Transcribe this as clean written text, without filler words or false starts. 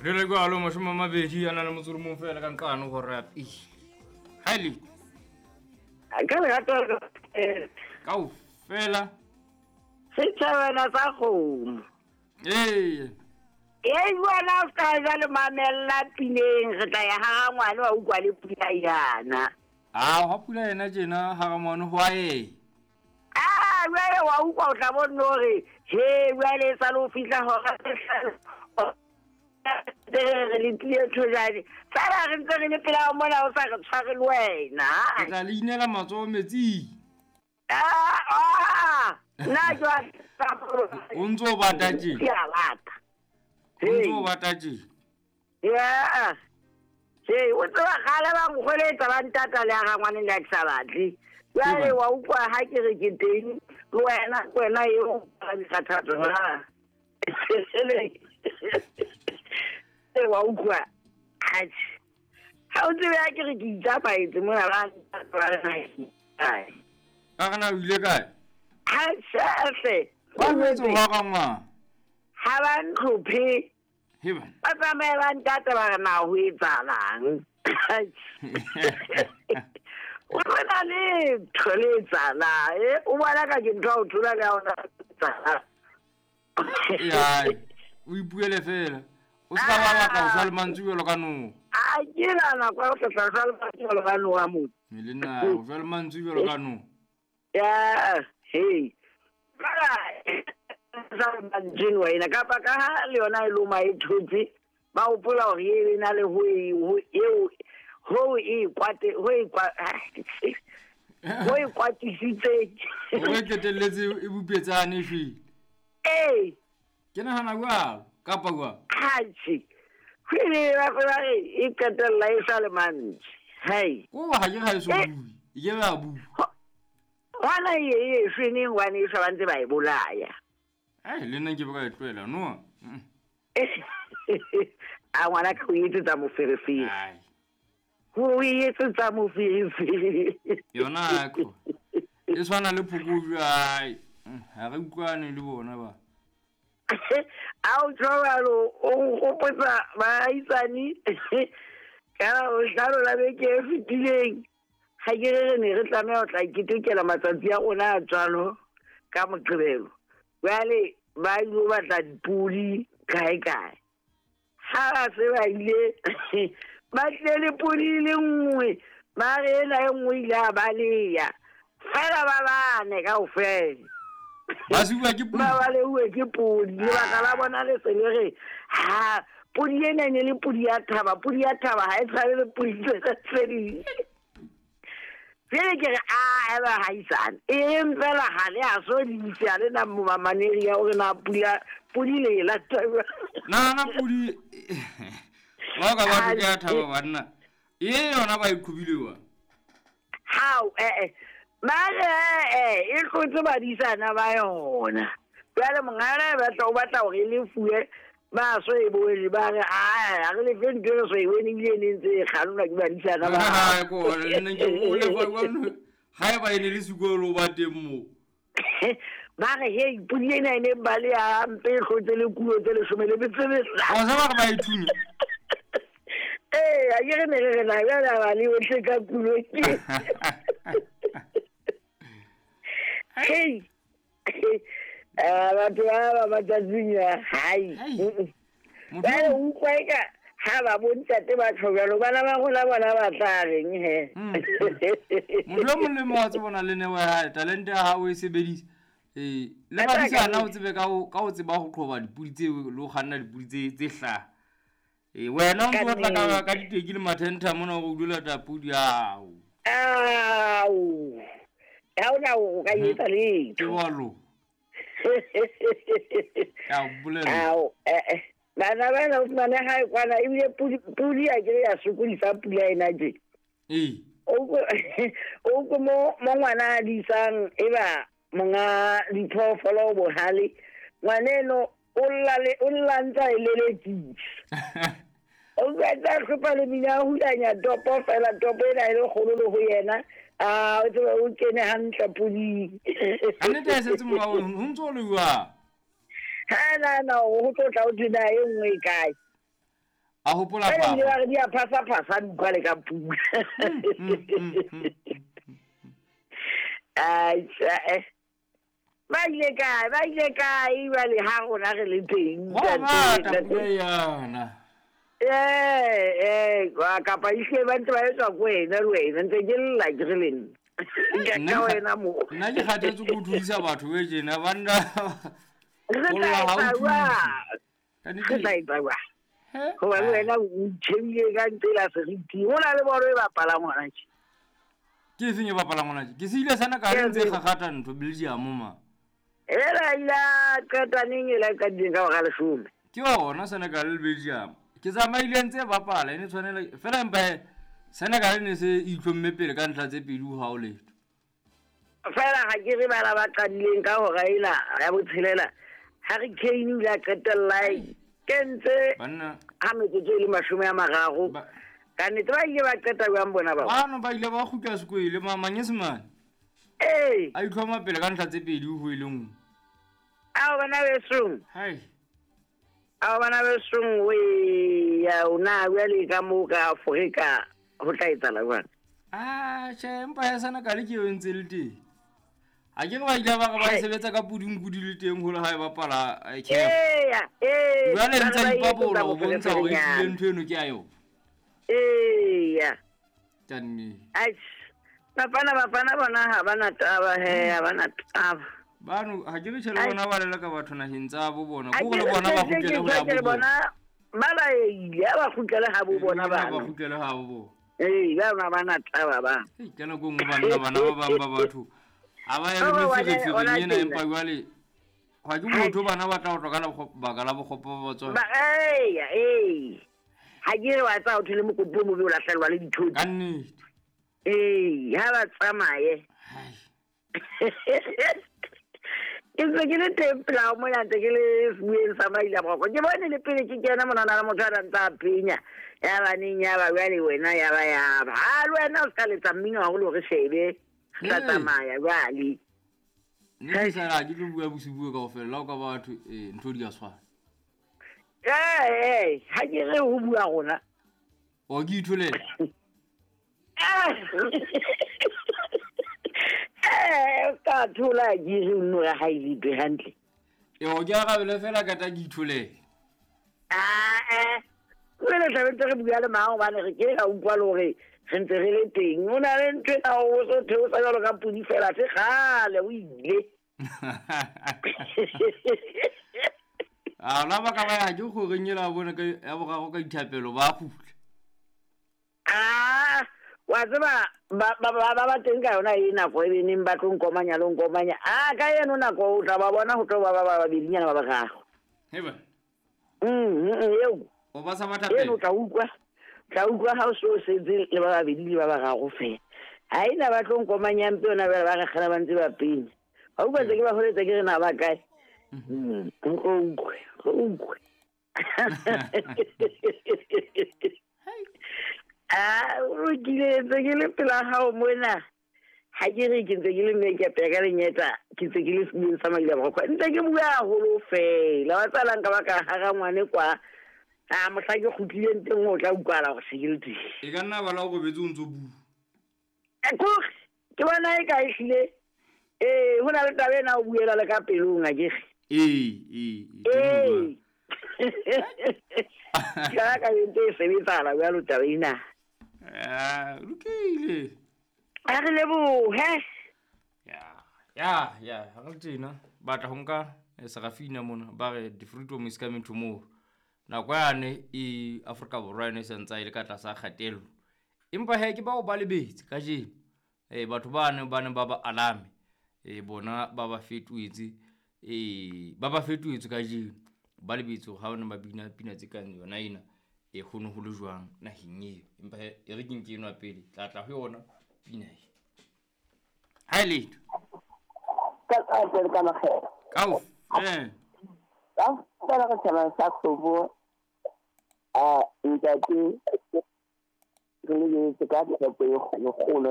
Re le jwalo 21 fela ka nqane hora ya pele. Ha le Ka lerato kaofela. Setjhabana sa kgomo. Ee. Ee, wena o ska jwale mamella pineng, re tla ya ha ngwana wa utlwa le pula yana. Ah, ha pula yena tjena ha ngwana ho a e. Ah, jwale wa utlwa o tla bona hore he jwale sa lo fihla hora tse hlano. Re le tlile thojane. Fela re ntse re le pela mona o sa re tshware le wena. Ke tla le inela matsoho metsing. Ah, nna jwale O ntso o bata tje. Ke a bata. O ntso o bata tje. Yeah. Hey, o tseba kgale ba nkgoletsa ba ntata le ya ga ngwane le a ke sa batle. Jwale wa utlwa ha ke re ke teng le wena, wena eo o dikgathatso na. Ee, wa utlwa. Atjhe. Ha o tsebe ha ke re ke itsamaetse mona ba ntata ba re na ke kae. Ka re na o ile kae? Atjhe, Ba jwetse ho ga ngwana. Ha ba ntlhophe. He bana. Ba tsamaye ba ntata ba re na ho etsahalang. O tsena letho le etsahalang. O bona ka ke ntho ya ho thola le ya hona etsahalang. Ai, o ipuele fela. O se ka ba batla ho shwa le mantswe jwalo ka noha. A ke na nako ya ho tla shwa le mantswe jwalo ka noha motho. Le nna ho shwa le mantswe jwalo ka noha. Ya, hey. Fela sa mantswe wena kapa ka ha le yona e loma e thotse, ba hopola hore e na le ho e ho eo ho e kwate ho e kwa ho e kwatisitse. O e qetelletse e bupetsane shwele. Ee. Ke nahana jwalo kapa jwang? Atjhe. Hwele ba ba re e qetella e sa le mantswe. Hai. Ko ha ke ga e so bue. E ke ba bua. Hona e e shweneng hobane e sa ba ntse ba e bolaya. Ai, le nna ke ba ka e tlohela no. A ngwana ka o etsetsa moferefere. Ai. Ho etsetsa moferefere. Yona ko. E tshwana le phokojwe ai. Ha re utlwane le bona ba. A o tshwaro o nkgopotsa baahisani ka bohlano la beke e fetileng. Ha ke re re ne re tlameha ho tla ketekela matsatsi a rona a tswalo ka Moqebelo. Jwale ba ilo batla dipodi kae kae. Ha ba se ba ile ba tlile le podi e le nngwe, ba re ena e nngwe ile a baleha. Fela ba bane kaofela. Ba siuwa ke podi. Ba baleuwe ke podi. Lebaka la bona le se le re, ha podi ena e ne le podi ya thaba, podi ya thaba ha e tshwane le podi tse ding. Jwale ke re, a eba haisane. E reng fela ha le a so di itse, ha le na mamaneri ya hore na podi le e lata jwang. Na podi, ba ka ba ke ya thaba banna. E yona ba e qhobile wa. Hao, Mare, e tlotse badisana ba yona. Jwale mongana e batla o batla hore e lefuwe, ba so e boele ba re, a re lefe ntho e re so e bone ebile e ne ntse e kgannwa ke badisana ba. Ha, ko, le nna ke o lefa jwang? Ha eba e ne le sekolo ba teng moo. Ba re, hei, podi ena e ne baleha hampe, e hlotse le kulo tse 15. Wa tseba re ba e thunya? Ee, ha ke re ne re re na jwale ha ba le ohle ka kulo ke. Hei. Batho ba ba matsatsing a, hai. Jwale o utlwa eka ha ba bo ntate ba tjho jwalo, bana ba rona bona ba tla reng he? Motho o mong le mong wa tseba o na le neo ya hae, talente ya hao o e sebedisa. Le badisana o tsebe ka ho tseba ho qhoba dipodi tseo le ho kganna dipodi tse hlaha. Wena o ntso batla ka diteki le mathentha mona hore o dula lata podi ao. Ao. Ha ona o ka etsa letho. Ke jwalo. Ka o bolella. Ao, Bana bana o fumane hae kwana ebile podi a ke ya sokodisa pula ena tje. Ee. O ko mo ngwana a disang e ba monga diphoofolo bohale. Ngwaneno o lla le o lla ntsa e lelekisa. O tla hlopa le mina hulanya topo fela topo ena e le kgolo le ho yena. A o tsebe o kene hantle poding. Ha nnete e setse morao, ho ntso o le jwang? Ha na na ho tlo tla o thwe na e nngwe e kae? A hopola papa. Ba re di a phasa phasa di utlwa le ka pula. Ai, ba ile kae, ba ile kae jwale ha rona re le teng. Wa bata pula yana. Ee, kapa ehlile ba ntse ba etswa ko wena le wena ntse ke lla ke re le nna. Ka wena mo. Nna ke kgathetse ko thudisa batho be tjena banna. Re tla etsa jwang? Re tla etsa jwang? Hoba le wena o itjhebile ka ntsela seriti. Ho na le bolo e bapalang hona tje. Ke efeng e bapalang hona tje? Ke se ile sana ka ntse kgakgatha ntho Belgium ma. Ela ila qeta neng ela qadileng ka hora 10. Ke yona Senegal le Belgium. Ke tsamaile ntse bapala ene tshwanela fela empa Senegal ne se itlhomme pele ka ntlha tse pedi ho letho. Fela ha ke re bala ba qadileng ka hora ena ya botshelela. Harry Kane o ile a qetella kentse banna ha metsotso e le 30. Ka nnete ba ile ba qeta jwang bona bao? Bano ba ile ba kgutla sekwele manyesemane. Ee. A itlhoma pele ka ntlha tse pedi ho e le nngwe. Ao bana besong. Hai. Ao bana besong we ya ona jwale ka moo ka Afrika ho tla etsahala jwang? Ah, tjhe, empa ya Senegal ke eo ntse le teng. Ha ke re ba ile ba re ba sebetsa ka pudungpudi le teng hole ha e bapala CAF. Eya, ee. Jwale ntse ipabola ho bontsha hore ehlile ntho eno ke ya yona. Eya. Kannete. Atjhe. Bafana bafana bona ha bana taba he, ha bana taba. Bano ha ke re tjhe le bona ba leleka batho naheng tsa bo bona. Ko le bona ba kgutlele ho ya bo bona. Ba laeile ha ba kgutlele ha bo bona bana. Ba kgutlele ha bo bona. Ee, ba bona bana taba ba. Ka nako nngwe banna bana ba bang ba batho. Ha ba ya le meferefereng ena empa jwale ha ke motho bana ba tla ho tloka baka la bokgopo ba batswadi. Ba eya, ee. Ha ke re wa tsaya ho thole mokoti o mobe o lahlelwa le dithoto. Ka nnete. Ee, ha ba tsamaye. Ke ntse ke le teng pela mona ntse ke le sebueng sa Maila Boroko. Ke bone le pele ke kena monana le motho a ntse a penya. Ya ba neng ya ba jwale wena ya ba ya ba. Ha le wena o ska letsa mmino haholo re shebe. Re tla tsamaya jwale. Nne ke sa ke tlo bua bosibu kaofela la o ka batho ntho di a tshwana. Ee, ha ke re ho bua rona. O ke itholele. Ka thola ke re nno ya ha ile be hantle. E o ke arabele fela ka ta ke itholele. Ah. Re le tla ntse re bua le mang hobane re ke ra utlwa le hore re ntse re le teng. O na le ntho ena o so theosa jwalo ka pudi fela se kgale o ile. A la ba ka ba ya ke go renyela bona ka ya boraro ka dithapelo ba kgutla. Ah, wa tseba ba ba ba teng ka yona e nako e beneng ba tlo nkomanya lo nkomanya. Ah, ka eno nako o tla ba bona ho tlo ba ba babedinyana ba bararo. Heba. Eo. O ba sa ba thapelo. Eno tla utlwa. Tla utlwa ha o so setse le ba babedi le ba bararo fela. Ha ena ba tlo nkomanya mpe yona ba re kgala ba ntse ba penya. Ha utlwa tse ke ba holetsa ke re na ba kae. Utlwe, utlwe. Ah, o lokile ntse ke le pela hao mona. Ha ke re ke ntse ke le mme ke apea ka lenyeta, ke ntse ke le sebueng sa Maila Boroko. Ntse ke bua haholo fela. Wa tsalang ka ba ka hara ngwane kwa. Ah, mohla ke kgutlileng teng o tla utlwala hore se ke le teng. E ka nna ba la o robetse o ntso bua. Kore ke bona e ka ehlile. Ee, ho na le taba ena o buela le ka pelong a ke re. Ee. Ee. Ka ka ntse e sebetsala jwalo taba ena. Ah, lokile. A re lebohe. Ya, ha re tjena batla ho nka Serafina mona ba re the freedom is coming tomorrow. Nako yane e Afrika Borwa ene se ntsa ile ka tlasa kgatello. Empa he ke bao ba lebetse kajeno. Batho ba ne ba ba alame. Bona ba ba fetoetse. Ba ba fetoetse kajeno. Ba lebetse ha bona ba bina pina tse kang yona ena. E kgone ho le jwang naheng eo. Empa e re ke nke enwa pele tla tla ho yona pina e. Ha ile. Ka ka makgela. Ka Ka fela re tshaba sa kgobo. A ntate re le ka tshepo e kgolo.